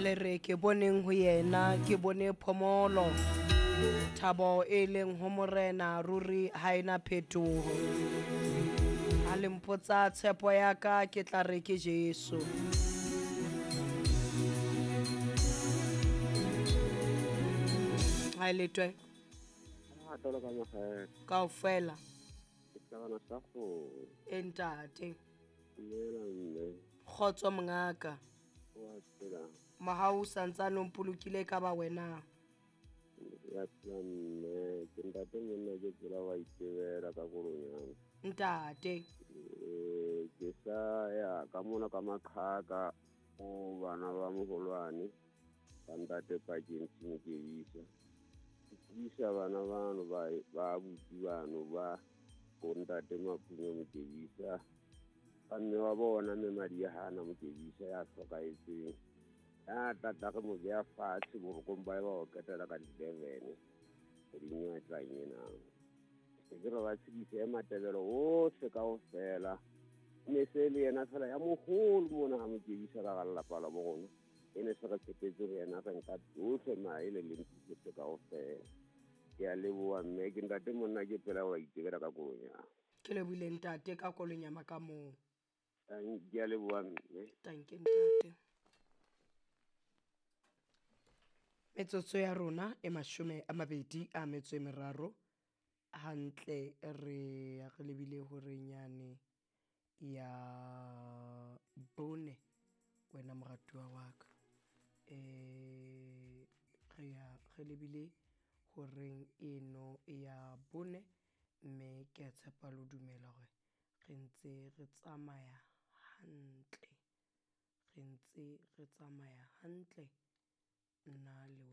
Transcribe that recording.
Le re ke boneng ho yena, ke bone phomolo. Thabo e leng ho Morena ruri ha ena phetoho. Ha le mpotsa tshepo ya ka ke tla re ke Jesu. Ha e letwe A tolo ka mogela. Kaofela. Ke tlabana sa go. E ntate. Dumela mme. Kgotso mongaka. Wa phela. Mohau o santsane o mpolokile ka ba wena. Ya phela mme. Ke ntate monna ke tsela wa itebela ka kolonyana. Ntate. Ke sa ya ka mona ka maqhaka o bana ba moholwane ba ntate pakeng tshimo ke isa. Ke isa bana bano ba abuti bano ba bo ntate Maphunye Mokebisa. Ba mme wa bona mme madi a hana Mokebisa ya hlokahetseng. Ya tata re mo beha fatshe borokong ba ba o qetela ka di-11 kgweding e tlang ena. Ke re ba tshedise Matebele ohle kaofela. Ne se le yena fela ya moholo mona ha Mokebisa ka hara lelapa la bo rona. E ne se re tshepetse ho yena re nka tsohle maele le ntho kaofela. Ke a leboha mme ke ntate monna ke pela wa itebela ka kolonyana. Ke lebohile ntate ka kolonyama ka moo. Ke a leboha mme. Tanke ntate. Metsotso ya rona e 23 hantle re ya re lebile hore nyane ya bone wena moratuwa wa ka. Re ya re lebile horeng eno ya bone mme ke a tshepa le ho dumela hore re ntse re tsamaya hantle. Re ntse re tsamaya hantle nna le wena.